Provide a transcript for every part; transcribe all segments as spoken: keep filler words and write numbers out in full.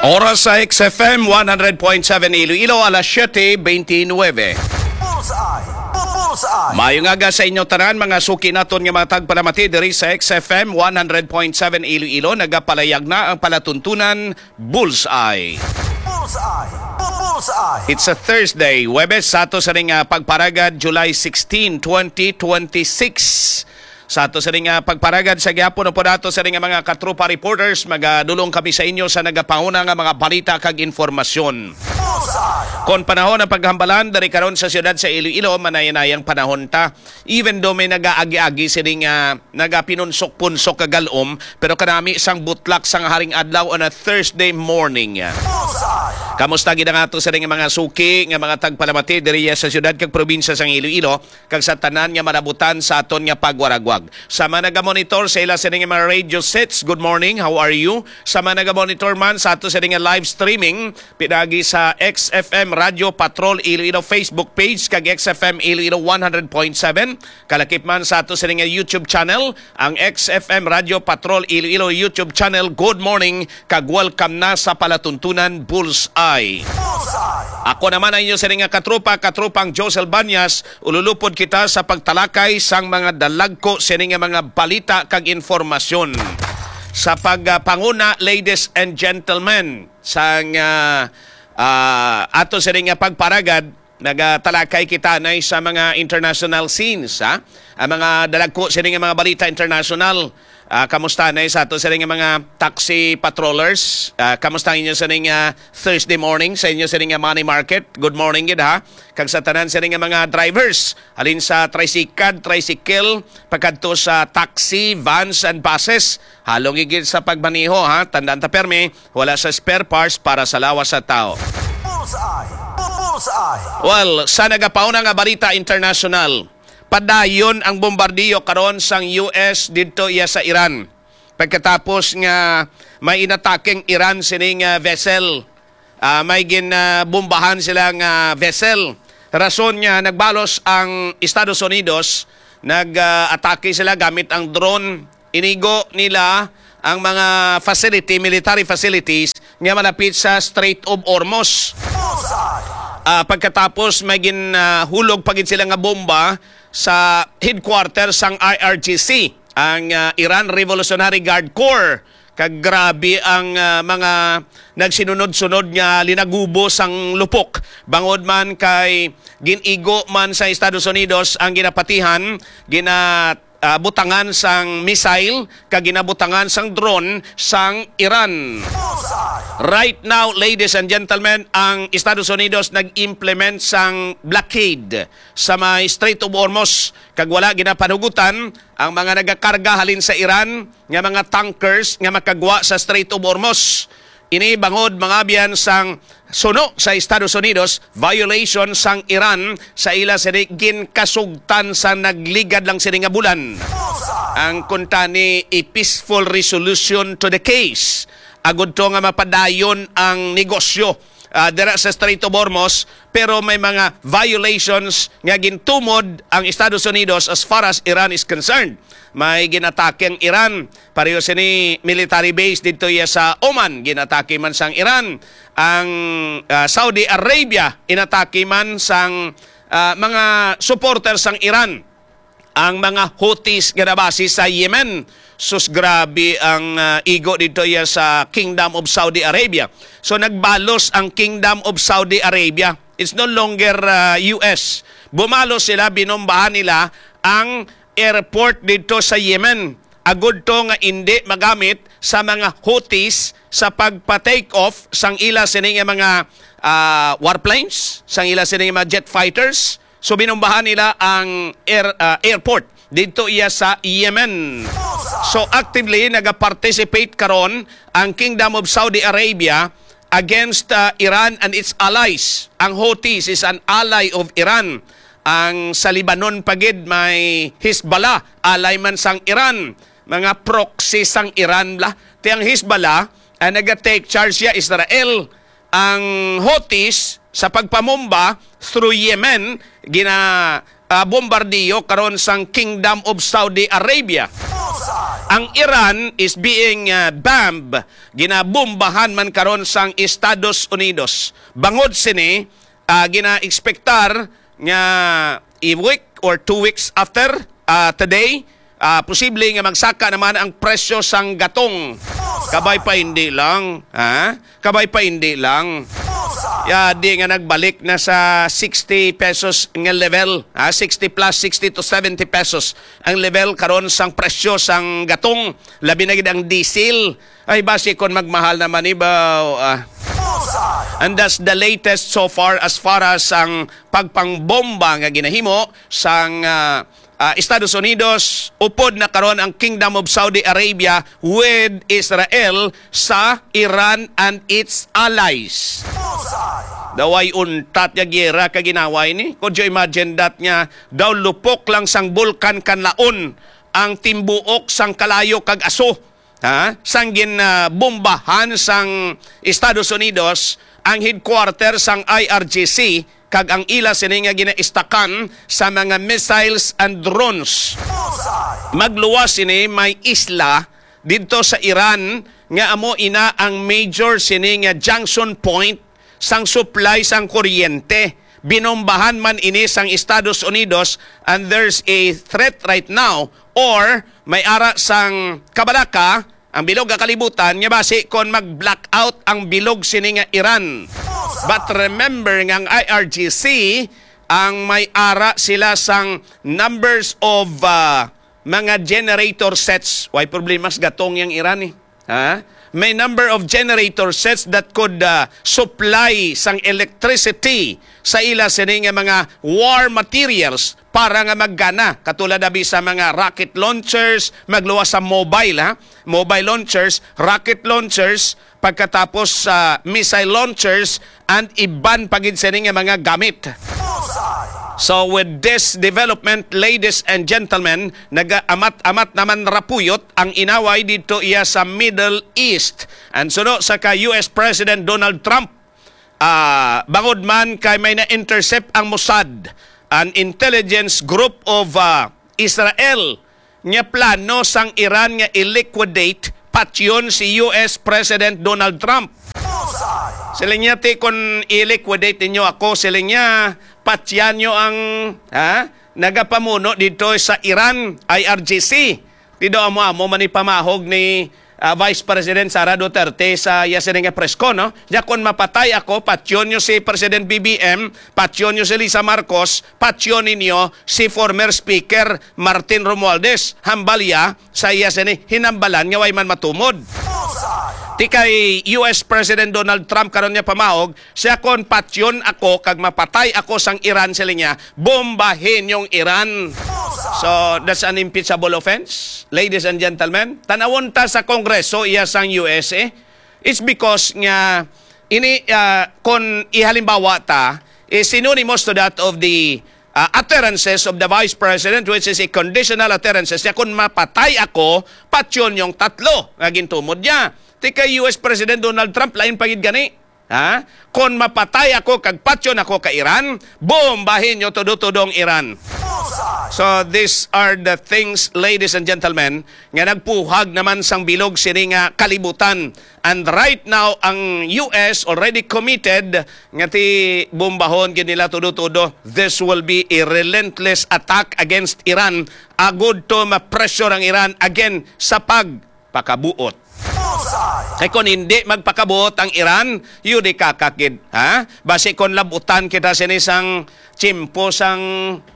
Oras sa X F M one hundred point seven Iloilo, alas siyete beintinuebe. Bullseye! Bu- Bullseye! Maayong aga sa inyo tanan, mga suki naton nga mga tagpalamati diri sa X F M one hundred point seven Iloilo. Nagapalayag na ang palatuntunan Bullseye. Bullseye! Bu- Bullseye! It's a Thursday, Huwebes, sa ato sa ring, ah, pagparagad, July sixteen, twenty twenty-six. Sa ato sa ring, ah, pagparagad sa gihapon, upod ato sa ring, ah, mga katropa reporters, magadulong kami sa inyo sa nagapahuna nga mga balita kag informasyon. Bullseye! Kon panahon ang paghambalan diri karon sa siyudad sa Iloilo, manayanayang panahon ta. Even though may nagaagi-agi sining, ah, nagapinunsok-punsok kagalom, pero kanami sang butlak sang haring adlaw on a Thursday morning. Bullseye! Kamusta gid ang ato sa ring mga suki nga mga tagpalamati diri sa siyudad kag probinsya sang Iloilo? Kag sa tanan nga malabutan sa aton nga pagwaragwag. Sa mga nagamonitor sa ila sining mga radio sets, good morning, how are you? Sa mga nagamonitor man sa ato sining nga live streaming, pinaagi sa X F M Radio Patrol Iloilo Facebook page kag X F M Iloilo one hundred point seven, kalakip man sa ato sining nga YouTube channel, ang X F M Radio Patrol Iloilo YouTube channel. Good morning, kag welcome na sa palatuntunan Bullseye. Bullseye! Ako naman ang inyo sining nga katropa, katropang Josel Banyas. Ululupod kita sa pagtalakay sang mga dalagko sini nga mga balita kag informasyon. Sa pagpanguna, ladies and gentlemen, sang, ah, ah, ato sini nga pagparagad, nagatalakay kita na sa mga international scenes, ha? Ang mga dalagko sini nga mga balita international. Ah, kamusta na sa ato sini nga mga taxi patrollers? Ah, kamusta ang inyo sini nga Thursday morning, sa inyo sini nga money market? Good morning gid, ha? Kag sa tanan sini nga mga drivers, halin sa tricycad, tricycle, pagkadto sa taxi, vans, and buses. Halong igid sa pagmaneho, ha? Tandaan ta permi, wala sa spare parts para sa lawas sa tao. Bullseye! Bu- Bullseye! Well, sa nagapauna nga balita international, padayon ang bombardiyo karon sang U S didto iya sa Iran. Pagkatapos nga may inatakeng Iran sining, ah, vessel, ah, may ginbombahan sila nga vessel. Rason nga nagbalos ang Estados Unidos, nag, ah, atake sila gamit ang drone. Inigo nila ang mga facility, military facilities nga malapit sa Strait of Hormuz. Bullseye! Ah, pagkatapos may ginhulog pa gid sila nga bomba sa headquarter sang I R G C, ang, ah, Iran Revolutionary Guard Corps. Kag grabe ang, ah, mga nagsinunod-sunod nga linagubo sang lupok, bangod man kay gin-igo man sa Estados Unidos ang ginapatihan, gina, ah, butangan sang missile kag ginabutangan sang drone sang Iran. Right now, ladies and gentlemen, ang Estados Unidos nag-implement sang blockade sa may Strait of Hormuz, kag wala ginapanugutan ang mga nagakarga halin sa Iran nga mga tankers nga makagwa sa Strait of Hormuz. Ini bangod, mga abyan, sang suno sa Estados Unidos, violation sang Iran sa ila sini ginkasugtan sa nagligad lang sini nga bulan. Ang kuntani, a peaceful resolution to the case. Agud to nga mapadayon ang negosyo, ah, dira sa Strait of Hormuz, pero may mga violations nga gintumod ang Estados Unidos as far as Iran is concerned. May ginatake ang Iran, pareho sini military base didto iya sa Oman, ginatake man sang Iran. Ang, ah, Saudi Arabia, inatake man sang, ah, mga supporter sang Iran ang mga Houthis nga nabase sa Yemen. Sus, grabe ang, ah, igo didto iya sa Kingdom of Saudi Arabia. So, nagbalos ang Kingdom of Saudi Arabia. It's no longer, ah, U S. Bumalos sila, binombahan nila ang airport didto sa Yemen. Agud to nga indi magamit sa mga Houthis sa pagpa-take off sang ila sini nga mga, ah, warplanes, sang ila sini nga mga jet fighters. So, binombahan nila ang air-, ah, airport didto iya sa Yemen. So, actively nagaparticipate karon ang Kingdom of Saudi Arabia against, ah, Iran and its allies. Ang Houthis is an ally of Iran. Ang sa Lebanon pa gid may Hezbollah, ally man sang Iran. Mga proxy sang Iran la. Ti ang Hezbollah, ang naga-take charge siya Israel. Ang Houthis sa pagpamomba through Yemen, gina, ah, bombardiyo karon sang Kingdom of Saudi Arabia. Ang Iran is being, uh, bombed, ginabombahan man karon sang Estados Unidos. Bangod sini, uh, gina-expectar nga a week or two weeks after, uh, today, uh, posible nga magsaka naman ang presyo sang gatong. Kabay pa hindi lang, ha? Kabay pa hindi lang. Ya, di nga nagbalik na sa sixty pesos nga level, ha? Sixty plus, sixty to seventy pesos ang level karon sang presyo sang gatong, labi na gid ang diesel. Ay, basi kon magmahal naman ibaw, ah. And that's the latest so far as far as ang pagpangbomba nga ginahimo sang, ah, ah, Estados Unidos, upod na karon ang Kingdom of Saudi Arabia with Israel sa Iran and its allies. Daway untat nga giyera ka ginaway ni. Could you imagine that nga daw lupok lang sang bulkan kanlaon ang timbuok sang kalayo kag aso, ha? Sang gin, ah, bombahan sang Estados Unidos ang headquarter sang I R G C kag ang ila sini nga ginaistakan sa mga missiles and drones. Magluwas sini may isla didto sa Iran nga amo ina ang major sini nga junction point sang supply sang kuryente. Binombahan man ini sang Estados Unidos, and there's a threat right now, or may ara sang kabalaka ang bilog nga kalibutan nga basi kon mag-blackout ang bilog sini nga Iran. But remember nga ang I R G C ang may ara sila sang numbers of, ah, mga generator sets. Way problema sa gatong yang Iran, eh. Ha? May number of generator sets that could, ah, supply sang electricity sa ila sini nga mga war materials para nga maggana, katulad abi sa mga rocket launchers, magluwas sa mobile, ha? Mobile launchers, rocket launchers, pagkatapos sa missile launchers, and iban pa gid sini nga mga gamit. So with this development, ladies and gentlemen, nagaamat-amat naman rapuyot ang inaway didto iya sa Middle East. And suno sa ka U S President Donald Trump, ah, bangod man kay may na-intercept ang Mossad, an intelligence group of, ah, Israel, nga plano sang Iran nga i-liquidate patyon si U S President Donald Trump. Siling niya, "Ti, kon i-liquidate ninyo ako," siling niya, "patyan nyo ang, ha, nagapamuno dito sa Iran, I R G C." Ti daw amo-amo man ni pamahog ni, ah, Vice President Sara Duterte sa iya sini nga press con, no? Nya, "Kon mapatay ako, patyon nyo si President B B M, patyon nyo si Lisa Marcos, patyon ninyo si former Speaker Martin Romualdez." Hambal iya sa iya sini hinambalan nga way man matumod. Ti kay U S President Donald Trump karon niya pamahog, siya, "Kon patyon ako kag mapatay ako sang Iran," siling niya, "bombahin yung Iran." So, that's an impeachable offense, ladies and gentlemen. Tanawon ta sa Kongreso iya sang U S, eh. It's because nga ini, ah, kon ihalimbawa ta, is synonymous to that of the, ah, utterances of the Vice President, which is a conditional utterances. Siya, "Kon mapatay ako, patyon yung tatlo," nga gintumod niya. Ti kay U S President Donald Trump, lain pa gid gani. Ha? "Kon mapatay ako kag patyon ako ka Iran, bombahin nyo tudo-tudo ang Iran." So these are the things, ladies and gentlemen, nga nagpuhag naman sang bilog sini nga kalibutan. And right now, ang U S already committed nga ti bombahon gid nila tudo-tudo. This will be a relentless attack against Iran. Agud to ma-pressure ang Iran again sa pag pakabuot. Kay kon hindi magpakabuot ang Iran, yun di kakakid, ha? Basi kon labutan kita sini sang tiyempo sang,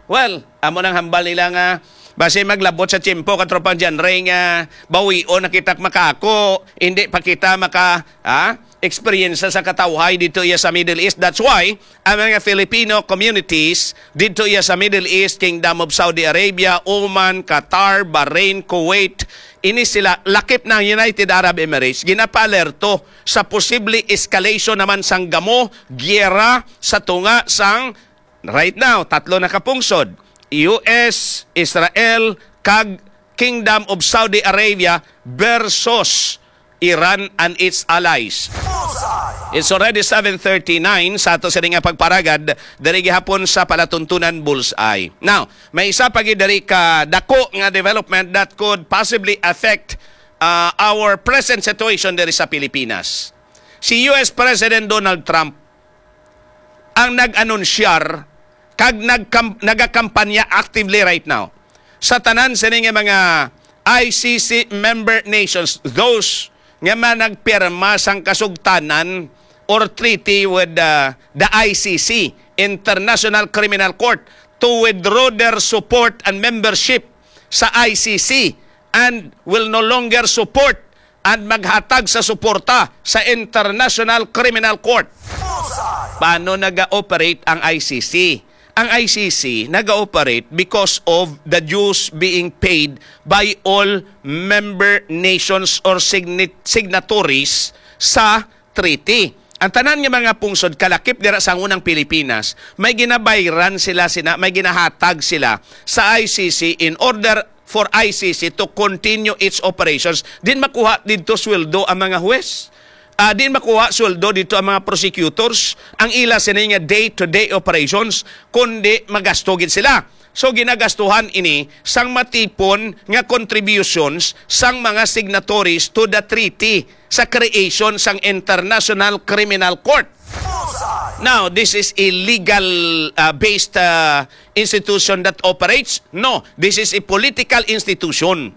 well, amo nang hambal nila nga, basi maglabot sa tiyempo, Katropang John Ray, nga bawion na kita makako, hindi pa kita maka, ha? Eksperyensya sa katawhay dito iya sa Middle East. That's why ang mga Filipino communities dito iya sa Middle East, Kingdom of Saudi Arabia, Oman, Qatar, Bahrain, Kuwait, ini sila, lakip na ang United Arab Emirates, ginapaalerto sa posible escalation naman sang gamo, giyera sa tunga sang, right now, tatlo na ka pungsod, U S, Israel, kag Kingdom of Saudi Arabia versus Iran and its allies. It's already seven thirty-nine sa ato sini nga pagparagad diri gihapon sa Palatuntunan Bullseye. Now, may isa pa gid diri ka dako nga development that could possibly affect, uh, our present situation diri sa Pilipinas. Si U S President Donald Trump ang nag-anunsyar kag nagkam-, nagakampanya actively right now sa tanan sini nga mga I C C member nations, those nga man nagpirma sang kasugtanan or treaty with, uh, the I C C, International Criminal Court, to withdraw their support and membership sa I C C and will no longer support and maghatag sa suporta sa International Criminal Court. Paano naga-operate ang I C C? Ang I C C naga-operate because of the dues being paid by all member nations or signit-, signatories sa treaty. Ang tanan nga mga pungsod kalakip dira sa unang Pilipinas, may ginabayran sila, sina, may ginahatag sila sa I C C in order for I C C to continue its operations. Din makuha didto sweldo ang mga huwes. Ah, din makuha sweldo didto ang mga prosecutors. Ang ila sini nga day-to-day operations, kundi magasto gid sila. So, ginagastuhan ini sang matipon nga contributions sang mga signatories to the treaty sa creation sang International Criminal Court. Now, this is a legal, uh, based, uh, institution that operates? No, this is a political institution.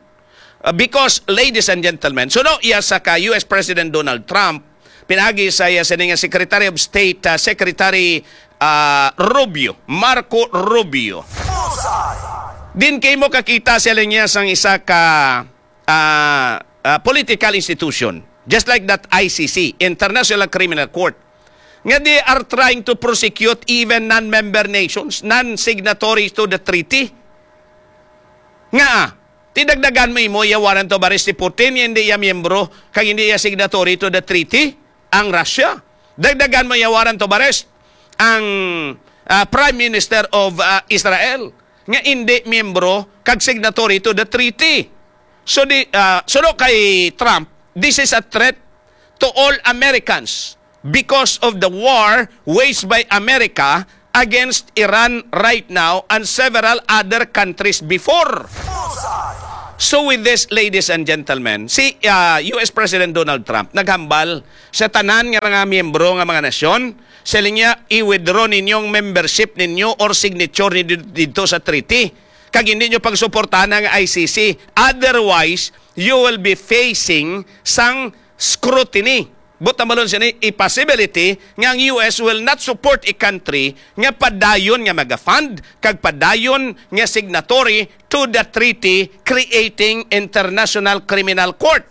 Uh, because, ladies and gentlemen, suno iya sa ka U S President Donald Trump, pinagi sa iya sini nga Secretary of State, uh, Secretary, uh, Rubio, Marco Rubio. Din kay mo kakita sila niya sang isa ka, uh, uh, political institution, just like that I C C, International Criminal Court, nga they are trying to prosecute even non-member nations, non-signatories to the treaty. Nga, ah, ti dagdagan mo imo iya warrant of arrest si Putin, hindi iya miyembro, kag hindi iya signatory to the treaty, ang Russia. Dagdagan mo iya warrant of arrest ang, ah, Prime Minister of, ah, Israel, nga hindi miyembro kag signatory to the treaty. So di, ah, suno kay Trump, this is a threat to all Americans because of the war waged by America against Iran right now and several other countries before. So with this, ladies and gentlemen, si, ah, U S President Donald Trump naghambal sa tanan nga mga miyembro nga mga nasyon, sa linya, i-withdraw ninyong membership ninyo or signature ni didto sa treaty, kag hindi nyo pagsuportahan ang I C C. Otherwise, you will be facing sang scrutiny. Buot hambalon sini, a possibility nga ang U S will not support a country nga padayon nga maga-fund kag padayon nga signatory to the treaty creating International Criminal Court.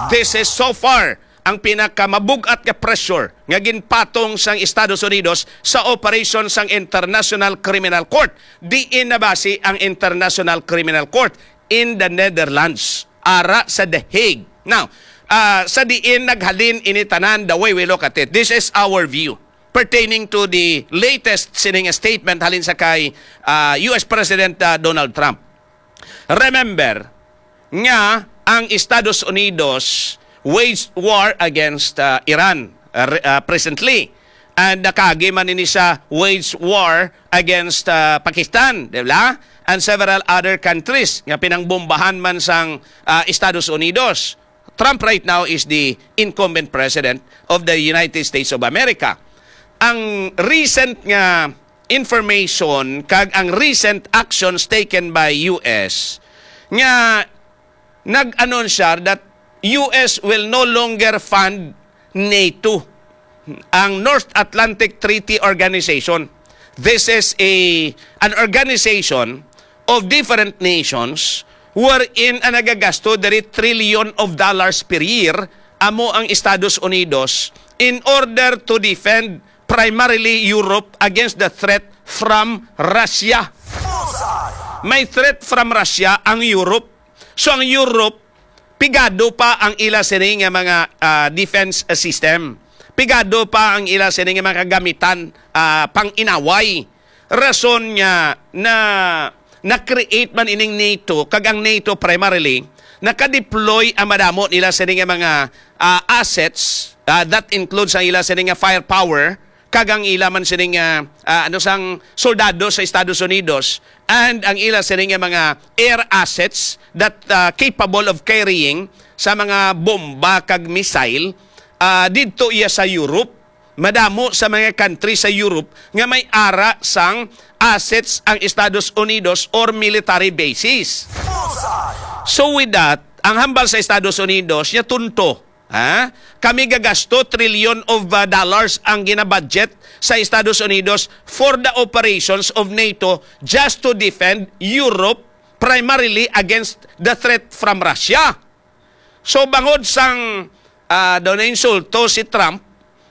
This is so far ang pinakamabug-at nga pressure nga ginpatong sang Estados Unidos sa operation sang International Criminal Court. Diin nabasi ang International Criminal Court? In the Netherlands, ara sa The Hague. Now, ah, sa diin naghalin ini tanan, the way we look at it, this is our view pertaining to the latest sining statement halin sa kay, ah, U S President, ah, Donald Trump. Remember nga ang Estados Unidos waged war against, ah, Iran, ah, re-, ah, presently. And nakagi man ini sa waged war against, ah, Pakistan, di ba? And several other countries nga pinangbombahan man sang, ah, Estados Unidos. Trump right now is the incumbent president of the United States of America. Ang recent nga information kag ang recent actions taken by U S nga nag-anunsya that U S will no longer fund NATO, ang North Atlantic Treaty Organization. This is a, an organization of different nations wherein ang nagagasto diri trillion of dollars per year amo ang Estados Unidos in order to defend primarily Europe against the threat from Russia. May threat from Russia ang Europe. So ang Europe, pigado pa ang ila sini nga mga, ah, defense, ah, system. Pigado pa ang ila sini nga mga kagamitan, ah, pang-inaway. Rason nga na, na-create man ining NATO, kag ang NATO primarily naka-deploy ang madamo nila sini nga mga, ah, assets, ah, that includes ang ila sini nga firepower, kag ang ila man sini nga, ah, ano sang soldado sa Estados Unidos, and ang ila sini nga mga air assets that, ah, capable of carrying sa mga bomba kag missile, ah, didto iya sa Europe. Madamo sa mga country sa Europe nga may ara sang assets ang Estados Unidos or military bases. So with that, ang hambal sa Estados Unidos, niya tunto, ha? Kami gagasto trillion of, uh, dollars ang ginabudget sa Estados Unidos for the operations of nato just to defend Europe, primarily against the threat from Russia. So, bangod sang, ah, daw na insulto si Trump,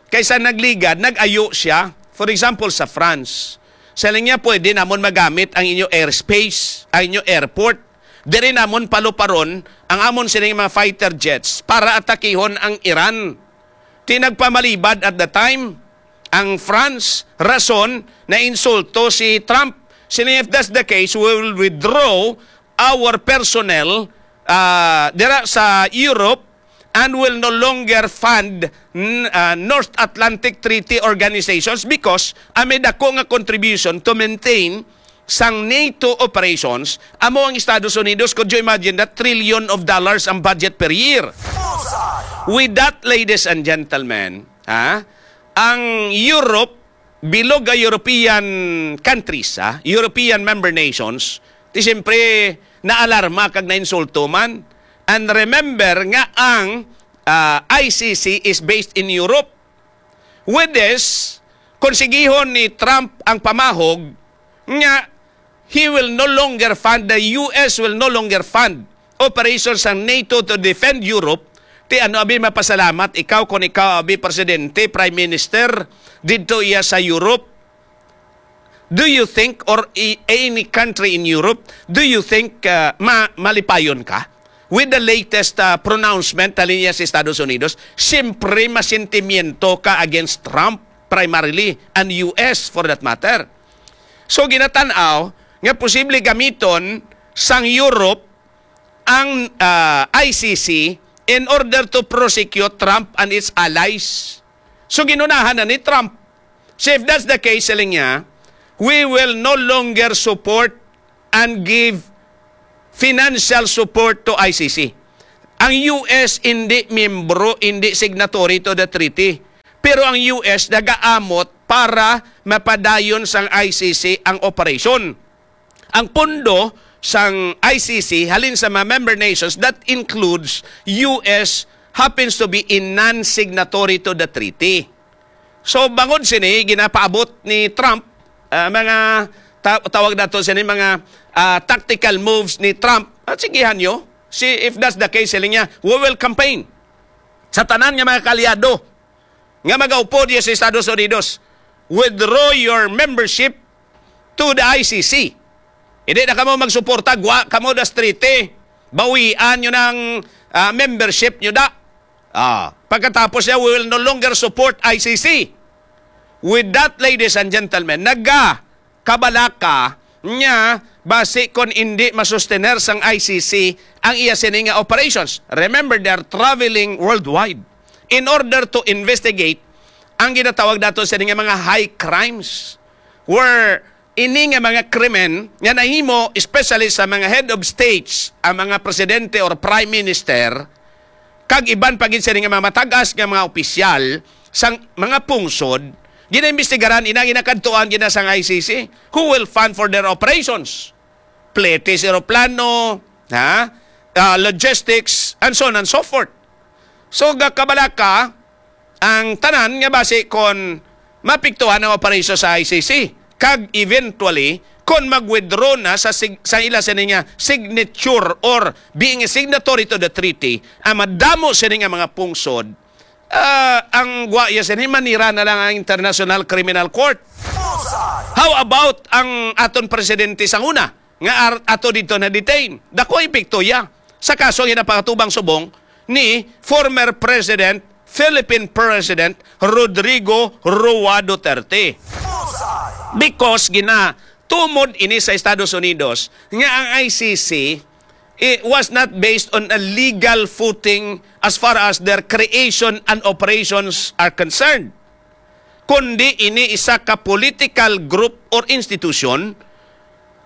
kaysa nagligad, nag-ayo siya. For example, sa France. Sa niya, pwede namon magamit ang inyo airspace, ang inyo airport. Diri namon paluparon ang amon sining mga fighter jets para atakihon ang Iran. Ti nagpamalibad at the time ang France, rason na insulto si Trump. Sini, "If that's the case, we will withdraw our personnel, ah, dira sa Europe and will no longer fund n-, ah, North Atlantic Treaty Organizations because ang may dako nga contribution to maintain sang nato operations amo ang Estados Unidos." Could you imagine that? Trillion of dollars ang budget per year. With that, ladies and gentlemen, ha, ang Europe, bilog nga European countries, ha, European member nations, ti siyempre naalarma kag nainsulto man. And remember nga ang, ah, I C C is based in Europe. With this, kung sigihon ni Trump ang pamahog nga he will no longer fund, the U S will no longer fund operations sang nato to defend Europe, ti ano abi mapasalamat ikaw kung ikaw abi presidente, prime minister, didto iya sa Europe? Do you think, or i-, any country in Europe, do you think, uh, ma-, malipayon ka with the latest, uh, pronouncement halin niya sa Estados Unidos? Siyempre, masentimiento ka against Trump primarily and U S for that matter. So, ginatan-aw nga posible gamiton sang Europe ang, uh, I C C in order to prosecute Trump and its allies. So, ginunahan na ni Trump. So, if that's the case, siling niya, "We will no longer support and give financial support to I C C." Ang U S hindi miyembro, hindi signatory to the treaty. Pero ang U S nagaamot para mapadayon sang I C C ang operasyon. Ang pondo sang I C C halin sa mga member nations, that includes U S, happens to be a non-signatory to the treaty. So, bangod sini, ginapaabot ni Trump, ah, mga ta-, tawag nato sini, mga, ah, tactical moves ni Trump. At sigihan nyo, si, if that's the case, siling niya, "We will campaign sa tanan nga mga kaalyado nga magaupod niya sa Estados Unidos. Withdraw your membership to the I C C. Hindi na kamo magsuporta, gwa kamo das treaty. Bawian nyo ng, ah, membership nyo da." Ah, pagkatapos niya, "We will no longer support I C C." With that, ladies and gentlemen, nagakabalaka niya basi kon indi masustener sang I C C ang iya sini nga operations. Remember, they are traveling worldwide in order to investigate ang ginatawag nato sini nga mga high crimes, where ini nga mga krimen nga nahimo, especially sa mga head of states, ang mga presidente or prime minister, kag iban pa gid sini nga mga matag-as nga mga opisyal sang mga pungsod, ginaimbestigaran, ina ginakadtuan gina sang I C C. Who will fund for their operations? Fletes, eroplano, ha? Ah, logistics, and so on and so forth. So, gakabalaka ang tanan nga basi kon mapiktuhan ang operasyon sa I C C, kag eventually, kon mag-withdraw na sa sig-, sa ila sini nga signature or being a signatory to the treaty, ang madamo sini nga mga pungsod, ah, ang gwa iya sini, manira na lang ang International Criminal Court. How about ang aton presidente sang una nga ar-, ato dito na detain? Dako epekto iya sa kaso nga ginapakatubang subong ni former President, Philippine President Rodrigo Roa Duterte. Because ginatumod ini sa Estados Unidos nga ang I C C it was not based on a legal footing as far as their creation and operations are concerned, kundi ini isa ka political group or institution,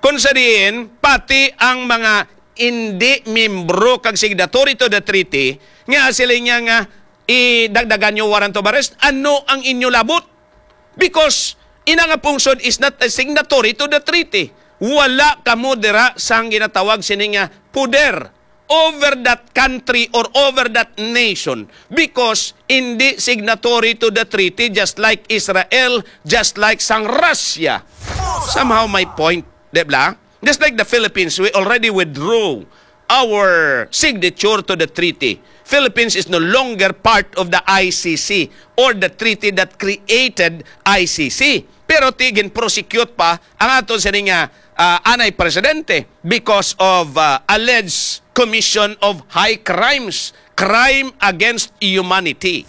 kung sa diin pati ang mga indi miyembro kag signatory to the treaty, nga sila niya nga idagdagan niyo warrant of arrest, ano ang inyo labot? Because ina nga pungsod is not a signatory to the treaty. Wala kamo dira sang ginatawag sini nga poder over that country or over that nation, because hindi signatory to the treaty, just like Israel, just like sang Russia. Somehow my point, di ba? Just like the Philippines, we already withdrew our signature to the treaty. Philippines is no longer part of the I C C or the treaty that created I C C. Pero ti gin-prosecute pa ang aton sini nga, ah, anay presidente because of, ah, alleged commission of high crimes, crime against humanity.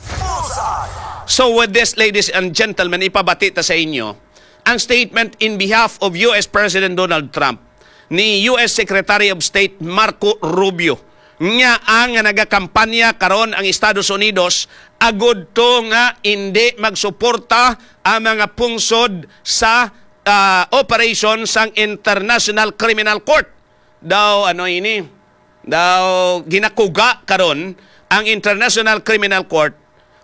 So with this, ladies and gentlemen, ipabati ta sa inyo ang statement in behalf of U S President Donald Trump ni U S Secretary of State Marco Rubio, nga ang nagakampanya karon ang Estados Unidos agud to nga indi magsuporta ang mga pungsod sa, ah, operation sang International Criminal Court. Daw, ano ini? Daw ginakuga karon ang International Criminal Court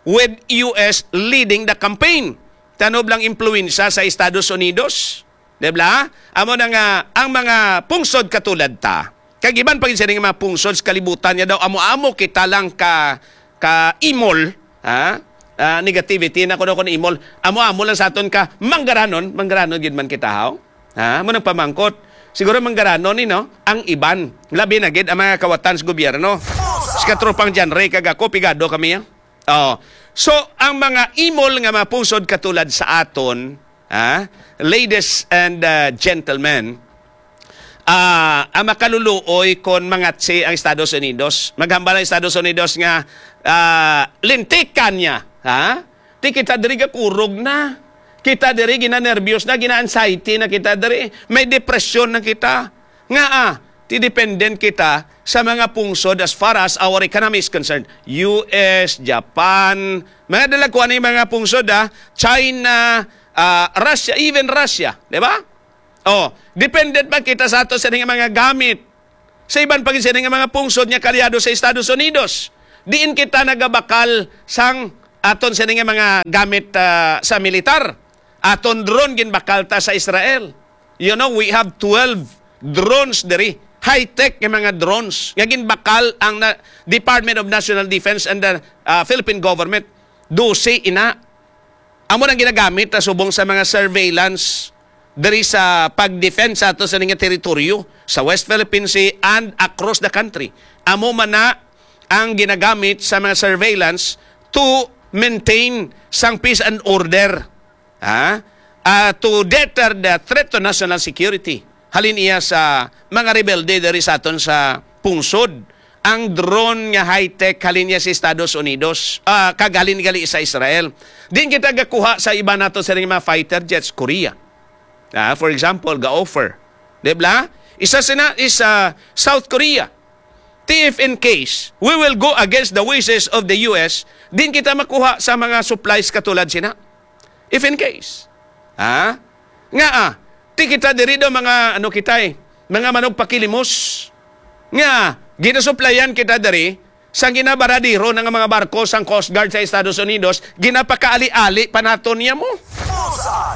with U S leading the campaign. Tanob lang impluwensya sa Estados Unidos. Di ba? Amo na nga, ang mga pungsod katulad ta, kag iban pa gid sini nga mga pungsod sa kalibutan nga daw amo-amo kita lang ka, ka imol, ha? Ah, negativity na kuno kun imol. Amo-amo lang sa aton ka manggaranon, manggaranon gid man kita, haw? Ha? Mo nagpamangkot. Siguro manggaranon ni, no? Ang iban, labi na gid ang mga kawatan sa gobyerno. Si katropang John Ray kag ako, pigado kami, ha? Oh. So, ang mga imol nga mga pungsod katulad sa aton, ha, ladies and, uh, gentlemen, ah, ang makaluluoy kon mangatsi ang Estados Unidos. Maghambal ang Estados Unidos nga, ah, lintikan niya, ha? Ti kita diri gakurog na. Kita diri ginanerbyos na, gina-anxiety na kita diri. May depresyon na kita. Nga, ah, ti dependent kita sa mga pungsod as far as our economy is concerned. U S, Japan, mga dalagkuan ni mga pungsod, ah, China, ah, Russia, even Russia, di ba? Oh, dependent ba kita sa ato sa mga gamit? Sa iban pa gid sini nga mga pungsod nga kaalyado sa Estados Unidos, diin kita nagabakal sang aton sini nga mga gamit, ah, sa militar. Aton drone ginbakal ta sa Israel. You know, we have twelve drones diri. High-tech nga mga drones nga ginbakal ang na-, Department of National Defense and the, ah, Philippine government. Dose ina. Amo nang ginagamit na subong sa mga surveillance diri sa pag-defend sa ato sa nga teritoryo sa West Philippine Sea and across the country. Amo man na ang ginagamit sa mga surveillance to maintain sang peace and order, ha? Ah, to deter the threat to national security. Halin iya sa mga rebelde diri sa aton sa pungsod. Ang drone nga high-tech halin niya sa Estados Unidos, ah, kag halin gali sa Israel. Din kita gakuha sa iba nato sa mga fighter jets, Korea. Ah, for example, ga-offer. Di ba? Isa sina is, ah, South Korea. Ti if in case we will go against the wishes of the U S, din kita makuha sa mga supplies katulad sina. If in case. Ha? Nga, ah, ti kita diri daw mga, ano kita eh, mga manugpakilimos. Nga, ginasuplayan kita diri sa ginabaradero na nga mga barko sang Coast Guard sa Estados Unidos, ginapakaali-ali pa naton niya mo.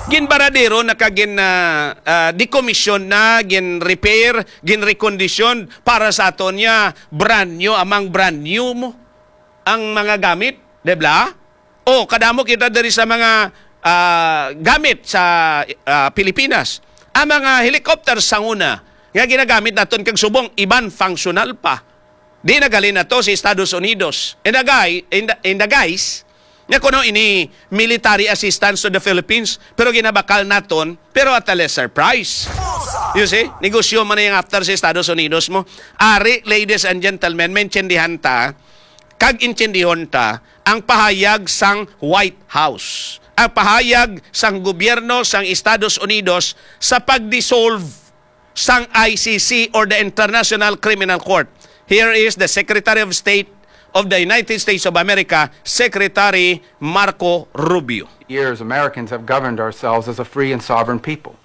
Ginbaradero na ka gin, ah, ah, decommission na, gin-repair, gin-recondition para sa aton niya, brand new, amang brand new mo ang mga gamit, di ba? O, kadamo kita diri sa mga, ah, gamit sa, ah, Pilipinas. Ang mga helicopter sa una nga ginagamit naton kag subong iban functional pa. Di nagalin na to sa Estados Unidos. In the guy, in the, in the guise, nga kuno ini military assistance to the Philippines, pero ginabakal naton, pero at a lesser price. You see? Negosyo man na yung after sa Estados Unidos mo. Ari, ladies and gentlemen, maintindihan ta, kag intindihon ta, ang pahayag sang White House, ang pahayag sang gobyerno sang Estados Unidos sa pag-dissolve sang I C C or the International Criminal Court. Here is the Secretary of State of the United States of America, Secretary Marco Rubio. Years, Americans have governed ourselves as a free and sovereign people.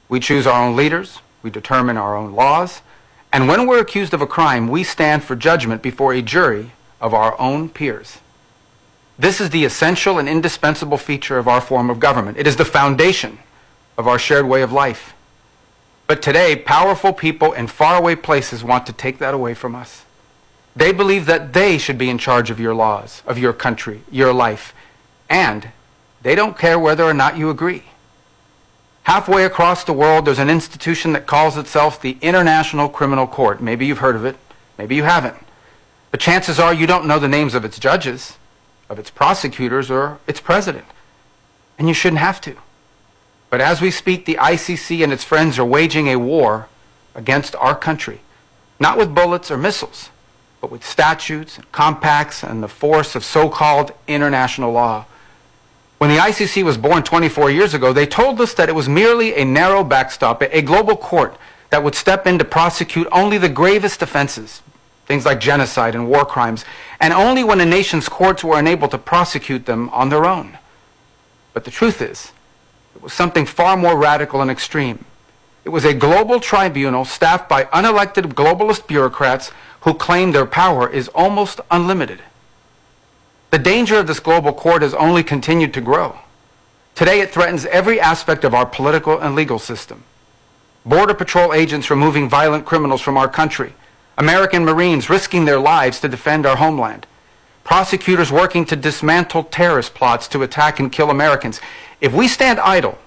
We choose our own leaders, we determine our own laws, and when we're accused of a crime, we stand for judgment before a jury of our own peers. This is the essential and indispensable feature of our form of government. It is the foundation of our shared way of life. But today, powerful people in faraway places want to take that away from us. They believe that they should be in charge of your laws, of your country, your life, and they don't care whether or not you agree. Halfway across the world, there's an institution that calls itself the International Criminal Court. Maybe you've heard of it, maybe you haven't. But chances are you don't know the names of its judges, of its prosecutors, or its president. And you shouldn't have to. But as we speak, the I C C and its friends are waging a war against our country, not with bullets or missiles, but with statutes and compacts and the force of so-called international law. When the I C C was born twenty-four years ago, they told us that it was merely a narrow backstop, a global court that would step in to prosecute only the gravest offenses, things like genocide and war crimes, and only when a nation's courts were unable to prosecute them on their own. But the truth is, it was something far more radical and extreme. It was a global tribunal staffed by unelected globalist bureaucrats who claim their power is almost unlimited. The danger of this global court has only continued to grow. Today, it threatens every aspect of our political and legal system. Border Patrol agents removing violent criminals from our country, American Marines risking their lives to defend our homeland, prosecutors working to dismantle terrorist plots to attack and kill Americans. If we stand idle,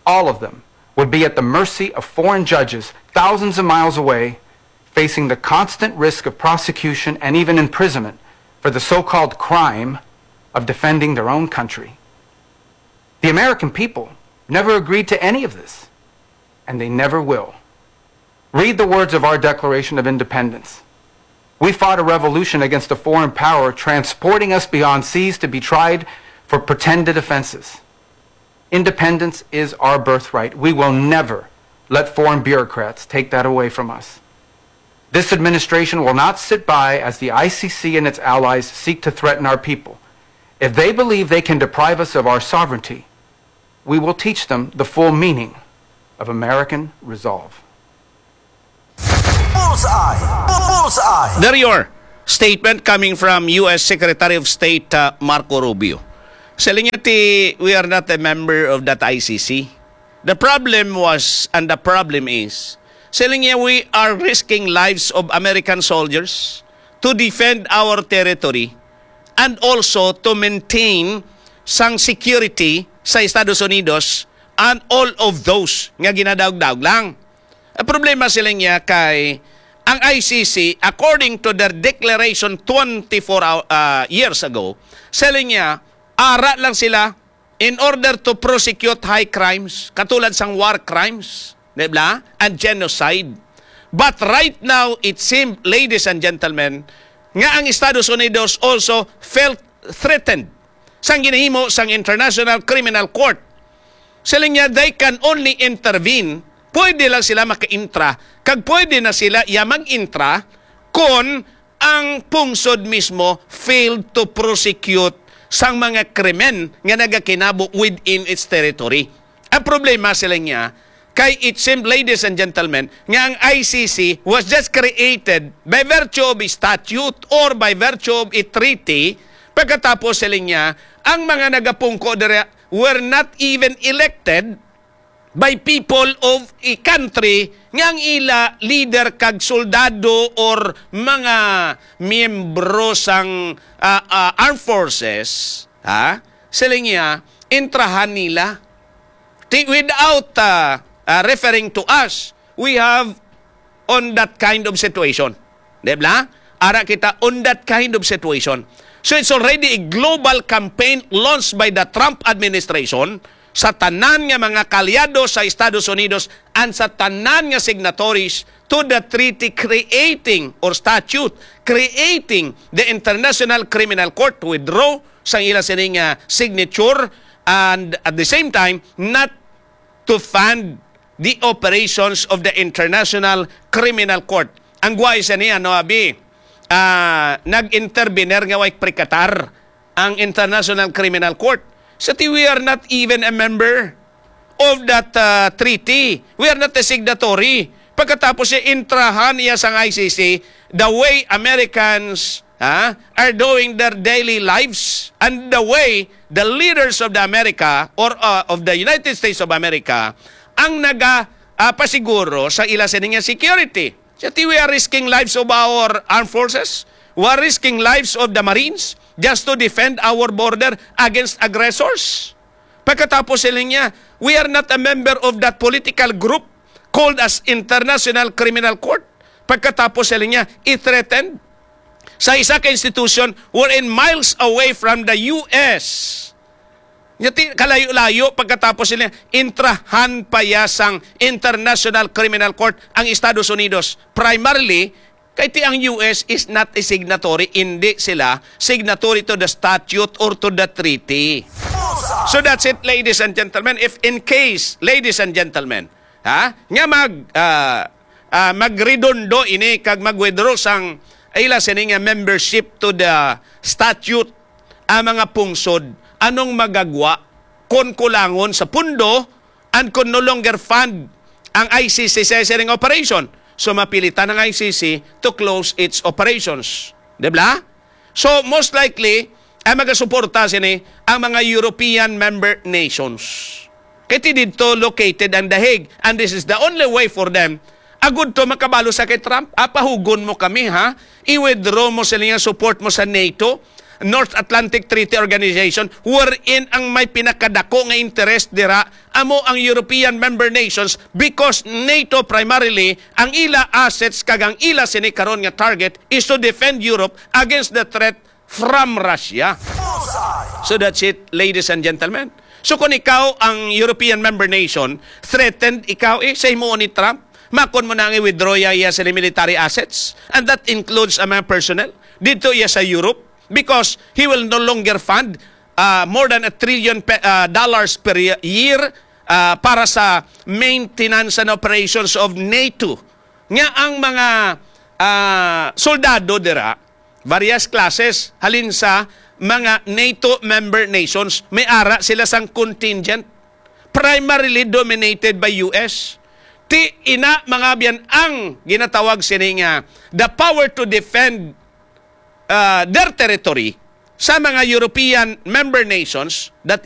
all of them would be at the mercy of foreign judges thousands of miles away, facing the constant risk of prosecution and even imprisonment for the so-called crime of defending their own country. The American people never agreed to any of this, and they never will. Read the words of our Declaration of Independence. We fought a revolution against a foreign power transporting us beyond seas to be tried for pretended offenses. Independence is our birthright. We will never let foreign bureaucrats take that away from us. This administration will not sit by as the I C C and its allies seek to threaten our people. If they believe they can deprive us of our sovereignty, we will teach them the full meaning of American resolve. Bullseye! Bullseye! There you are. Statement coming from U S Secretary of State uh, Marco Rubio. Siling niya ti, we are not a member of that I C C. The problem was, and the problem is, siling niya, we are risking lives of American soldiers to defend our territory and also to maintain sang security sa Estados Unidos and all of those nga ginadaog-daog lang. Ang problema sila niya kay ang I C C, according to their declaration twenty-four hou- ah, years ago, sila niya, ara lang sila in order to prosecute high crimes, katulad sang war crimes, di ba? And genocide. But right now, it seems, ladies and gentlemen, nga ang Estados Unidos also felt threatened sang ginahimo sang International Criminal Court. Sila niya, they can only intervene, pwede lang sila maka-intra, kag pwede na sila iya mag-intra kon ang pungsod mismo failed to prosecute sang mga krimen nga nagakinabo within its territory. Ang problema sila niya, kay it seemed, ladies and gentlemen, nga ang I C C was just created by virtue of a statute or by virtue of a treaty. Pagkatapos sila niya, ang mga nagapungko dira were not even elected by people of a country nga ang ila leader kag soldado or mga miyembro sang ah, ah, armed forces, ha? Sila niya, intrahan nila. Ti, without ah, ah, referring to us, we have on that kind of situation. Di ba? Ara kita on that kind of situation. So it's already a global campaign launched by the Trump administration sa tanan nga mga kaalyado sa Estados Unidos and sa tanan nga signatories to the treaty creating or statute creating the International Criminal Court to withdraw sang ila sini nga signature and at the same time not to fund the operations of the International Criminal Court. Ang guway sa niya, no, abi, ah, nag-intervener nga way prikatar ang International Criminal Court. Sa ti, we are not even a member of that, ah, treaty. We are not a signatory. Pagkatapos siya intrahan niya sang I C C, the way Americans, ha, are doing their daily lives and the way the leaders of the America or, uh, of the United States of America ang naga, ah, pasiguro sa ila sini nga security. Sa ti, we are risking lives of our armed forces. We are risking lives of the Marines just to defend our border against aggressors. Pagkatapos sila niya, we are not a member of that political group called as International Criminal Court. Pagkatapos sila niya, i-threaten sa isa ka institution wherein miles away from the U S. Nya ti-, kalayo-layo, pagkatapos sila, intrahan pa ya sang International Criminal Court ang Estados Unidos. Primarily, kay ti ang U S is not a signatory, hindi sila signatory to the statute or to the treaty. So that's it, ladies and gentlemen. If in case, ladies and gentlemen, ha, nga mag, ah, ah, magredondo ini kag mag-withdraw sang ila sini nga membership to the statute ang mga pungsod, anong magagwa kon kulangon sa pundo and kon no longer fund ang I C C sa sining operation? So, mapilitan ang I C C to close its operations. Di ba? So, most likely, ang magasuporta sini ang mga European member nations. Kay ti didto located ang The Hague, and this is the only way for them. Agud to makabalo sa kay Trump, apahugon mo kami, ha? I-withdraw mo sila nga support mo sa nato, North Atlantic Treaty Organization, wherein ang may pinakadako nga interest dira amo ang European member nations, because nato primarily ang ila assets kag ang ila sini karon nga target is to defend Europe against the threat from Russia. So that's it, ladies and gentlemen. So kung ikaw ang European member nation, threatened ikaw eh sa himuon ni Trump, makon mo na ang i-withdraw ya iya sini military assets. And that includes ang mga personnel dito iya sa Europe, because he will no longer fund, ah, more than a trillion pe-, ah, dollars per ye-, year, ah, para sa maintenance and operations of nato. Nga ang mga, ah, soldado dira, various classes, halin sa mga nato member nations, may ara sila sang contingent, primarily dominated by U S. Ti ina, mga biyan, ang ginatawag sini nga the power to defend, ah, their territory sa mga European member nations, that